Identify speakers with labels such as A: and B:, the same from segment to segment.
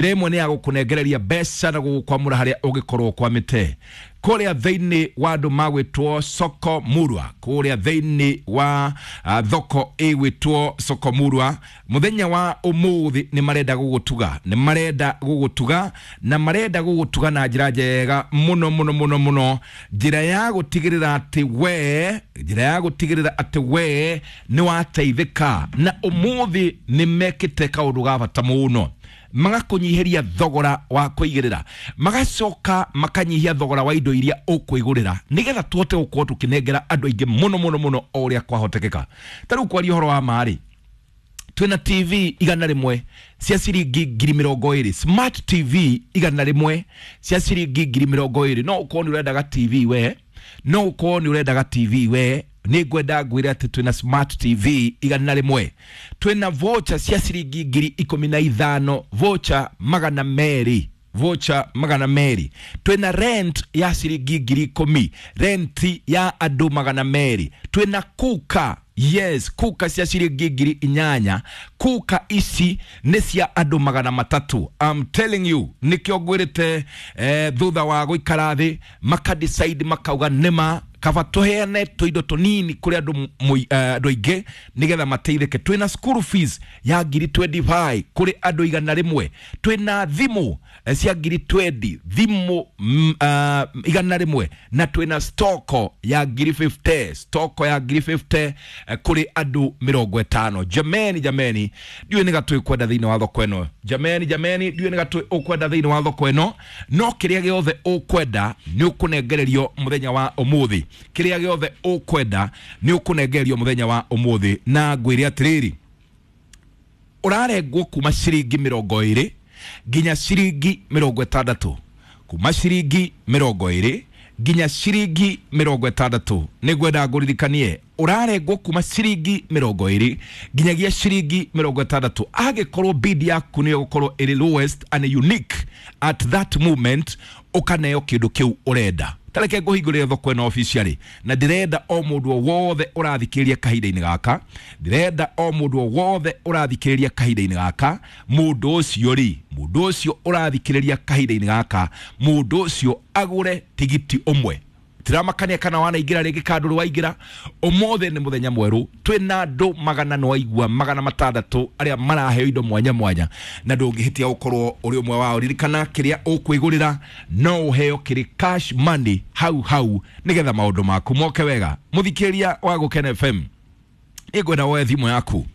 A: Ĩmwe nĩ ya gũkũnengereria mbeca na gũgũkwamũra harĩa ũngĩkorwo ũkwamĩte kũrĩa thĩinĩ wa andũ magwĩtwo Soko Murwa, kũrĩa thĩinĩ wa thoko ĩgwĩtwo Soko Murwa. Mũthenya wa ũmũthĩ nĩ marenda gũgũtuga, nĩ marenda gũgũtuga na marenda gũgũtuga na njĩra njega mũno mũno mũno mũno, njĩra ya gũtigĩrĩra atĩ we, njĩra ya gũtigĩrĩra atĩ we nĩ wateithĩka. Na ũmũthĩ nĩ mekĩte kaũndũ ga bata mũno, magakũnyihĩria thogora wa kũigĩrĩra, magacoka makanyihia thogora wa indo iria ũkwĩgũrĩra, nĩgetha tũhote gũkorwo tũkĩnengera andũ aingĩ mũno mũno mũno o ũrĩa kwahotekeka. Ta rĩu kwaria ũhoro wa marĩ, twĩna TV 100 cia ciringi 20,000, smart TV 100 cia ciringi 20,000. No ũkorwo nĩ ũrendaga TV we, no ũkorwo nĩ ũrendaga TV we, nĩ ngwenda ngwĩre atĩ twĩna smart TV 100. Twĩna voucher cia ciringi 15,000, voucher 200, voucher 200. Twĩna rent ya ciringi 10,000, rent ya andũ 200. Twĩna kuka, yes, kuka cia ciringi 8,000, kuka ici nĩ cia andũ 300. I'm telling you, nĩkĩo ngwĩrĩte thutha wa gũikara thĩ makadecide makauga nĩma kaba tũheane tũindo tũnini kũrĩ andũ andũ aingĩ nĩgetha mateithĩke. Twĩna school fees ya 25,000 kũrĩ andũ 100. Twĩna thimũ cia 20,000, thimũ 100, na twĩna stoko ya 50,000, stoko ya 50,000 kũrĩ andũ 50. Jameni, jameni, ndiũĩ nĩ gatũĩ kwenda thĩinĩ wa thoko ĩno. Jameni, jameni, ndiũĩ nĩ gatũĩ ũkwenda thĩinĩ wa thoko ĩno, no kĩrĩa gĩothe ũkwenda nĩ ũkũnengererio mũthenya wa ũmũthĩ. Kĩrĩa gĩothe ũkwenda nĩ ũkũnengererio mũthenya wa ũmũthĩ. Na ngwĩre atĩrĩrĩ, ũrarengwo kuma ciringi 20 nginya ciringi 60, kuma ciringi 20 nginya ciringi 60. Nĩ ngwenda ngũririkanie, ũrarengwo kuma ciringi 20 nginyagia ciringi 60. Angĩkorwo bid yaku nĩyo gũkorwo ĩrĩ lowest and unique at that moment, ũkaneo kĩndũ kĩu ũrenda. Tareke ngũhingũrĩre thoko ĩno officially, na ndĩrenda o mũndũ o wothe ũrathikĩrĩria kahinda-inĩ gaka, ndĩrenda o mũndũ o wothe ũrathikĩrĩria kahinda-inĩ gaka, mũndũ ũcio rĩ, mũndũ ũcio ũrathikĩrĩria kahinda-inĩ gaka, mũndũ ũcio agũre tigiti ũmwe. Tiramakania kana wanaingĩra rĩngĩ kana ndũrĩ waingĩra. Ũmũthĩ nĩ mũthenya mwerũ, twĩna andũ magana nĩwaigua 600 arĩa maraheo indo mwanya mwanya, na ndũngĩhĩtia gũkorwo ũrĩ ũmwe wao. Ririkana kĩrĩa ũkwĩgũrĩra no ũheo kĩrĩ cash money hau hau, nĩgetha maũndũ maku moke wega. Mũthikĩrĩria wa Gũkena FM, nĩngwenda woe thimũ yaku,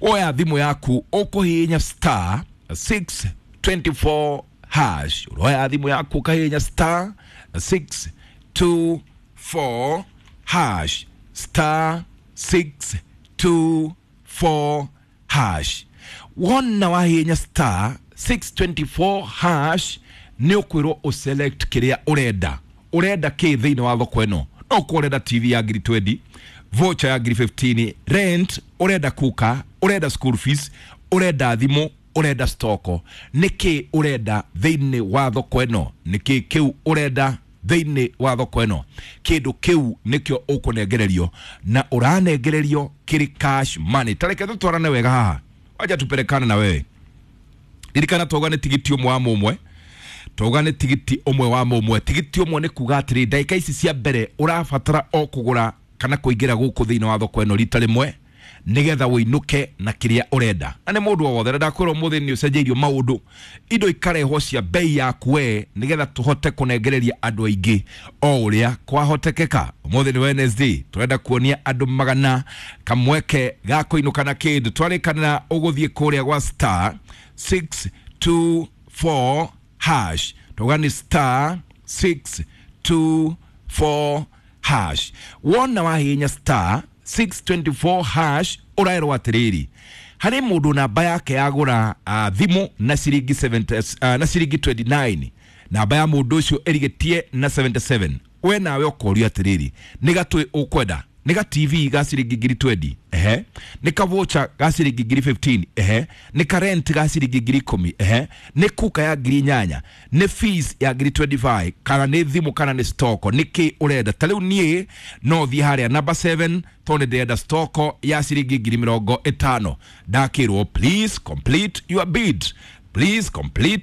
A: woya thimũ yaku ũkũhihinya star 624 hash. Ũroya thimũ yaku ũkahihinya star 624 hash, star 624 hash. Wona wahihinya star 624 hash, nĩ ũkwĩrwo ũselect kĩrĩa ũrenda. Ũrenda kĩ thĩinĩ wa thoko ĩno? No ũkorwo ũrenda TV ya 20,000, voucher ya 15,000, rent, ũrenda kuka, ũrenda school fees, ũrenda thimũ, ũrenda stoko. Nĩkĩ ũrenda thĩinĩ wa thoko ĩno? Nĩkĩ kĩu ũrenda thĩinĩ wa thoko ĩno? Kĩndũ kĩu nĩkĩo ũkũnengererio, na ũranengererio kĩrĩ cash money. Tareke tũtwarane wega haha, wacha tupelekane na wewe. Ririkana twauga nĩ tigiti ũmwe wa mũmwe, twauga nĩ tigiti ũmwe wa mũmwe. Tigiti ũmwe nĩ kuga atĩrĩ, ndagĩka ici cia mbere ũrabatara o kũgũra kana kũingĩra gũkũ thĩinĩ wa thoko ĩno rita rĩmwe, nĩgetha ũinũke na kĩrĩa ũrenda. Na nĩ mũndũ o wothe, na ndakwĩra ũmũthĩ nĩ ũcenjeirio maũndũ, indo ikarehwo cia bei yaku we, nĩgetha tũhote kũnengereria andũ aingĩ o ũrĩa kwahotekeka. Ũmũthĩ nĩ Wednesday, tũrenda kuonia andũ magana kamweke ga kũinũka na kĩndũ. Twarĩkanĩra ũgũthiĩ kũrĩa gwa star 624 hash, twauga nĩ star 624 hash. Wona wahihinya star 624 hash, ũraerwo atĩrĩrĩ, harĩ mũndũ namba yake yagũra thimũ na ciringi 70, na ciringi 29, namba ya mũndũ ũcio ĩrigĩtie na 77. We nawe ũkorio atĩrĩrĩ, nĩ gatũĩ ũkwenda? Nĩ ga TV ga ciringi 20,000, ehe, nĩ ka voucher ga ciringi 15,000, ehe, nĩ ka rent ga ciringi 10,000, ehe, nĩ kuka ya 8,000, nĩ fees ya 25,000, kana nĩ thimũ, kana nĩ stoko? Nĩ kĩ ũrenda? Ta rĩu niĩ no thiĩ harĩa number 7 tondũ ndĩrenda stoko ya ciringi 50,000. Ndakĩrwo, "Please complete your bid." Please complete.